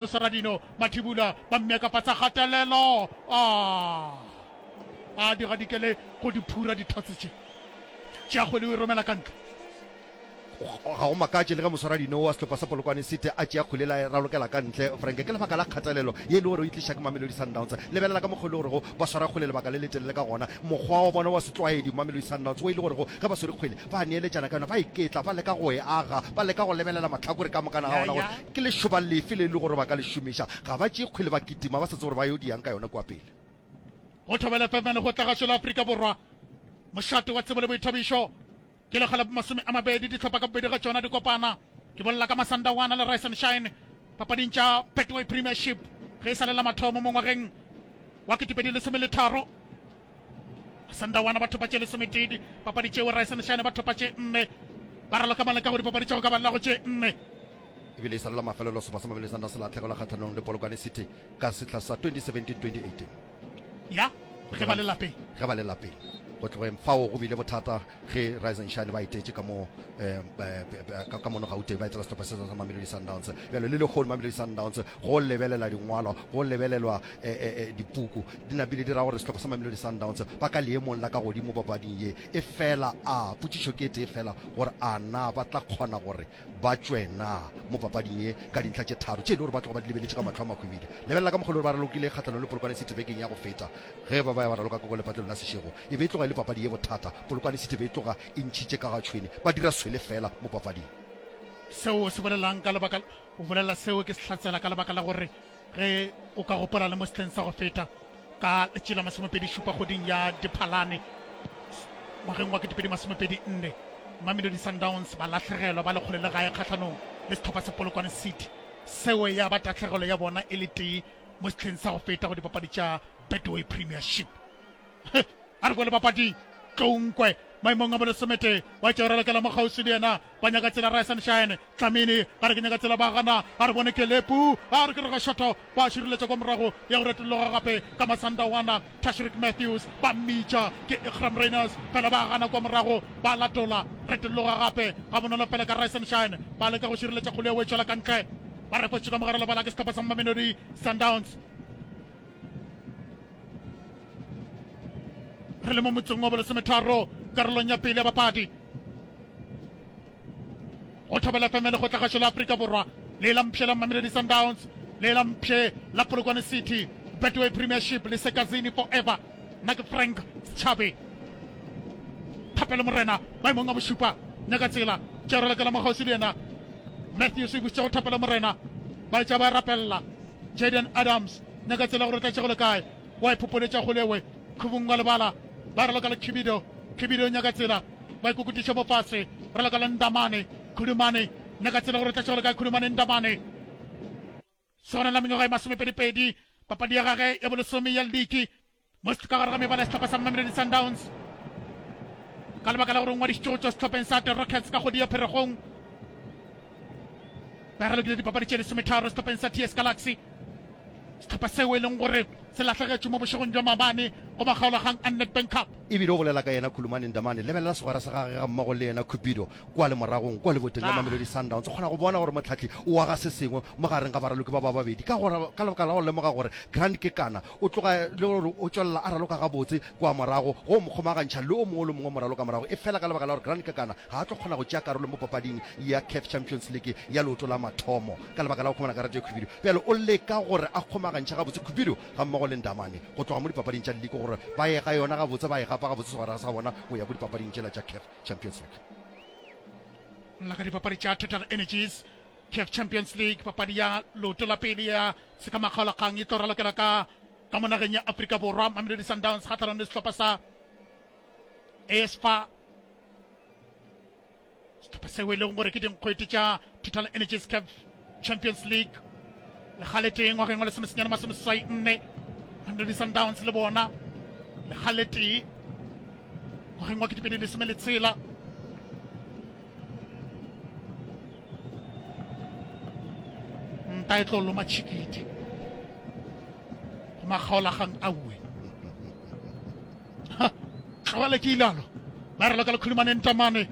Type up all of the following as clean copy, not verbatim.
Saradino Mathibula ba mmea ka fase ga kgatelelo. A a di gadikele go di phura dithotse tše. Tšea kgwele o e romela ka ntle. Ga go makatše le ge moswaradino wa sehlopha sa Polokwane City a tšea kgwele la e ralokela ka ntle. Frank, ke lebaka la kgatelelo ye e le gore o e tliša ke Mamelodi Sundowns. Lebelela ka mokgwa e le gorego ba swara kgwele lebaka le letelele ka gona. Mokgwa wa bona wa setlwaedi, Mamelodi Sundowns, wo e le gorego ge ba swere kgwele ba neeletšana ka yona, ba iketla, ba leka go e aga, ba leka go lebelela mahlakore ka mokana ga ona gore Ke lešoba lefe le e le gore ba ka le šomiša? Ga ba tšee kgwele ba kitima ba sa tsebe gore ba yo diang ka yona kua pele. Go Thobela FM le go tla gašo la Afrika Borwa, mošate wa tsebo le boithabišo. Ke lekga la bomasome a mabedi dihlopha ka bobedi ga tšona di kopana. Ke bolela ka Masandawana le Rise and Shine papading tša Betway Premiership ge e sa le la mathomo mo ngwageng wa 2013. Sandawana ba thopa tše lesometee dipapadi tšeo, Rise and Shine ba thopa tše nne. Ba raloka maleka go dipapadi tša go ka balela go tše nne. Ebile e sa le la mafelelo sehlopha sa Mamelodi Sundowns se lahlegelwa kgahlanong le Polokwane City ka sehla sa 2017-2018. Ya, ge ba le lapeng. Ge ba le lapeng. Go tlogeng fao go bile bothata ge Rise and Shine ba etetše ka mo eh, ka mono Gauteng ba etela sehlopha se sa Mamelodi Sundowns. Bjalo le lehono Mamelodi Sundowns go lebelela dingwalwa, go lebelelwa eh, eh, dipuku di napile di ra gore sehlopha sa Mamelodi Sundowns ba ka leemong la ka godimo papading ye. E fela a potšišo ke e tee fela gore a na ba tla kgona gore ba tšwe na mo papading ye ka dintlha tše tharo tše e le gore ba tloga ba di lebeletše ka mahlo a mahwibidi. Lebelela ka mokgwa e le gore ba ralokile kgahlanong le Polokwane City bekeng ya go feta ge ba ba ya ba raloka koko lepatlelong la Seshego. E be e tloga e le papadi ye bothata. Polokwane City be e tloga e ntšhitše ka ga tšhwene, ba dira swele fela mo papading. Seo o se bolelang ka lebaka, o bolela seo ke se hlatsela ka lebaka la gore ge o ka gopola le mo sehleng sa go feta ka letšatši la masomepedi-šupa kgweding ya Diphalane ngwageng wa 2024, Mamelodi Sundowns ba lahlegelwa ba le kgole le gae kgahlanong le sehlopha sa Polokwane City. Seo ya ba tahlegelo ya bona e le tee mo sehleng sa go feta go dipapadi tša Betway Premiership. A re boele papading. Tlounkwe maemong a bolesometee wa tšea ralokela mo kgauswi le yena. Ba nyaka tsela Rise and Shine. Tlamini ba re ke nyaka tsela ba gana. A re bone Kelepu. A re ke re ga šotho. Ba šireletša kwa morago ya go retolloga gape ka Masandawana. Tashreeq Matthews ba mmitša ke Iqraam Rayners fela ba gana kwa morago ba latola. Retolloga gape ga bonolo fela ka Rise and Shine. Ba leka go šireletša kgolo ya o e tšwela ka ntle. Ba refotše ka mogare lebala ke sehlopha sa Mamelodi Sundowns. Re le mo motsong wa bolesometharo karolong ya pele ya bapadi go Thobela FM le kgotlagašo la Afrika Borwa le la mpšhe la Mamelodi Sundowns le la mpšhe la Polokwane City Betway Premiership le Sekazini Forever. Nna ke Frank Setšhabe Thapelo Morena maemong a bošupa nyaka tsela tša ralokela mo kgauswi le yena Matthews e busitše go Thapelo Morena ba etša ba rapella Jayden Adams nyaka tsela gore o tla tšego le kae wa e phopholetša kgolewe khubung wa lebala ba raloka le Khibido Khibido nyaka tsela ba ikokutiša mo fase raloka le Ndamane Khulumane nyaka tsela gore o tla tšego le kae Khulumane Ndamane sona la mengwaga e masomepedipedi papadi ya gage ya bolesome ya liki Mo ka gare ga mebala ya sehlopha sa Mamelodi Sundowns ka lebaka la gore o ngwadišitše go tšwa sehlopheng sa The Rockets ka kgwedi ya Pherekgong. Ba ralokile dipapadi tše lesometharo sehlopheng sa TS Galaxy, sehlopha seo e leng gore se lahlegetšwe mo bošegong bja maabane go makgaolakgang a Nedbank Cup. Ebile o bolela ka yena Khulumani Ndamane, lebelela segwera sa gagwe gammogo le yena Cupido kua le moragong kua leboteng la Mamelodi Sundowns. O kgona go bona gore mohlahli o aga se sengwe mo gareng ga baraloki ba ba babedi ka gore ka lebaka la go lemoga gore Grant Kekana O tloga le gore o tšwelela a raloka gabotse kua morago, go mo kgomagantšha le o mongwe le o mongwe moraloka morago, efela ka lebaka la gore Grant Kekana ga a tlo kgona go tšea karolo mo papading ya Caf Champions League ya leoto la mathomo ka lebaka la go khumana karata ye khubidu. Bjale o leka gore a kgomagantšhe gabotse Khubidu gammogo le Ndamane go tloga mo dipapading tša liki gore ba ye ga yona gabotse, ba e gapa gabotse segwera sa bona go ya ko dipapading tšela tša Caf Champions League. Nna ka dipapadi tša Total Energies Caf Champions League, papadi ya leoto la pele ya sekamakgaolakgang e tlo ralokela ka ka mo nageng ya Afrika Borwa. Mamelodi Sundowns kgahlanong le sehlopha sa AS FAR, sehlopha seo e leng gore ke dinkgwete tša Total Energies Caf Champions League lekgaletee ngwageng wa lesomesenyane masomeseswai nne. Mamelodi Sundowns le bona lekgaletee ngwageng wa ketepedi lesome le tshela. Nta e tlo loma tšhikidi go makgaolagang auwe. Tlogele ke ilalo. Ba raloka le Khulumane Ntamane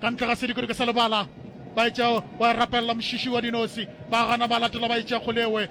ka ntle ga sedikodiko sa lebala. Ba etša wa rapelela mošiši wa dinosi. Ba gana ba latela ba etša kgolewe.